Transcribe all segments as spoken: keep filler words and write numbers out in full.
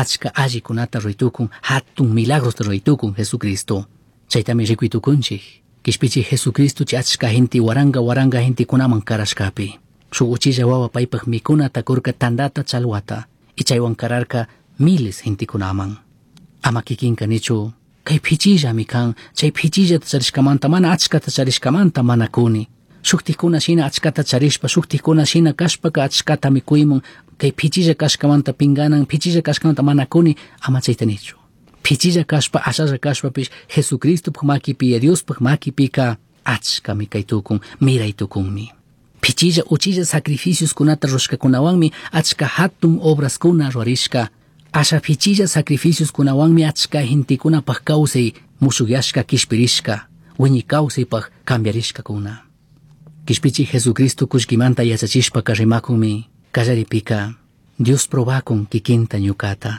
Achka allikunata ruytukun, hatun milagrosta ruytukun Jesucristo. Chaytami rikuytukunchik. Kishpichi Jesucristo chay achka gente waranga waranga gentekunaman karashkapi. Shuk uchilla wawa paypaj mikunata kurka tandata chalwata. Y chaywan kararka miles gentekunaman. Ama kikinka nichu kay pichillami kan, chay pichillata charishkamanta mana achkata charishkamanta mana kuni. Shuktikuna shina achkata charishpa, shuktikuna shina kashpaka achkata mikuymun, kay pichilla kashkamanta pinganan, pichilla kashkamanta mana kuni, ama chayta nichu. Pichilla kashpa, ashalla kashpapish, Jesucristopaj makipi, Diospaj makipika achkami kaytukun, miraytukunmi. Pichilla uchilla sacrificioskunata rushkakunawanmi achka hatun obraskuna rurarishka. Asha pichilla sacrificioskunawanmi achka gentekunapaj kawsay mushukyashka kishpirishka, wiñi kawsaypaj cambiarishkakuna. Kishpichi Jesucristo kullkimanta yachachishpaka rimakunmi kallaripika Dios probakun kikinta ñukata.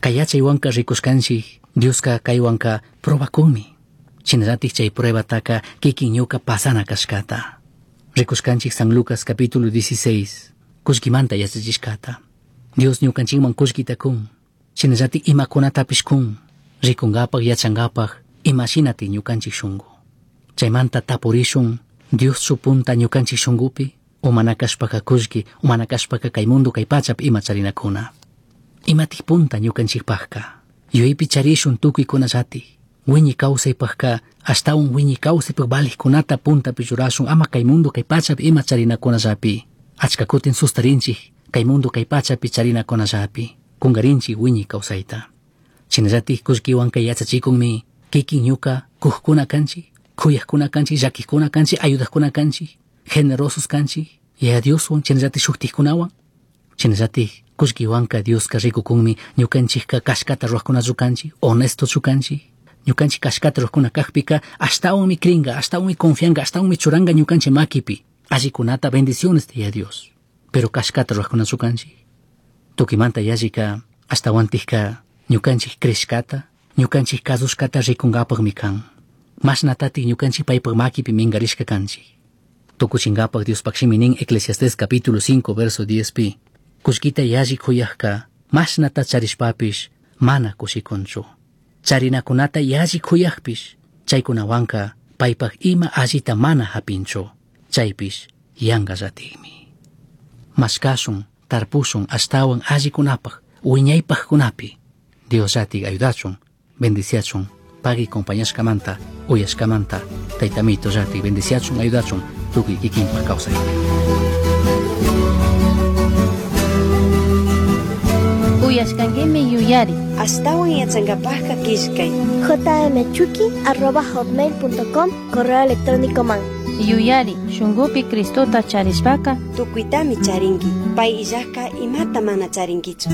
Kay yachaywanka rikushkanchik Dioska kaywanka probakunmi. Shinallatik chay pruebataka kikin ñuka pasana kashkata. Rikushkanchik San Lucas capítulo dieciséis kullkimanta yachachishkata. Dios ñukanchikman kullkita kun. Shinallatik imakunatapish kun. Rikunkapak yachankapak imashinati ñukanchik shunku. Chaymanta tapurishun Dios supunta ñukanchik shunkupi umana kashpaka kullki, umana kashpaka kay mundo kay pachapi ima charinakuna. Imatik punta ñukanchikpajka. Yuyaypi charishun tukuykunallatik. Wiñi kawsaypajka ashtawan wiñi kawsaypaj valijkunata puntapi churashun ama kay mundo kay pachapi ima charinakunallapi. Achka kutin sustarinchik kay mundo kay pachapi charinakunallapi. Kungarinchik wiñi kawsayta. Shinallatik kullkiwan kay yachachikunmi kikin ñuka kujkuna kanchik, kuyajkuna kanchik, llakijkuna kanchik, ayudajkuna kanchik, generosos kanchik, Yaya Dioswan shinallatik shuktikkunawan. Shinallatik kullkiwanka Dioska rikukunmi ñukanchikka kashkata ruwajkunachu kanchik, honestochu kanchik. Ñukanchik kashkata ruwajkuna kajpika ashtawanmi cringa, ashtawanmi confianga, ashtawanmi churanga ñukanchik makipi. Allikunata bendiciones Yaya Dios. Pero kashkata ruwajkunachu kanchik. Tukimanta yallika ashtawantikka ñukanchik crishkata, ñukanchik kasushkata rikunkapakmi kan. Mashnatatik ñukanchik paypak makipi minkarishka kanchik. Tukuchinkapak Diospaj shimi nin Eclesiastés capítulo cinco verso diez pi. Kullkita yalli kuyajka mashnata charishpapish mana kushikunchu. Charinakunata yalli kuyajpish chaykunawanka paypak ima allita mana hapinchu. Chaypish yankallatikmi. Mashkashun, tarpushun ashtawan allikunapaj, wiñaypajkunapi. Dios llatik ayudachun, bendiciachun, pagui compañashkamanta, uyashkamanta, taytamito llatik bendiciachun, ayudachun, tukuy kikinpaj kawsaypi. Uyashkankimi yuyari. Ashtawan yachankapajka killkay. jmchuki arroba hotmail punto com correo electrónico man. Yuyari, shunkupi Cristota charishpaka tukuytami charinki, pay illajka imata mana charinkichu.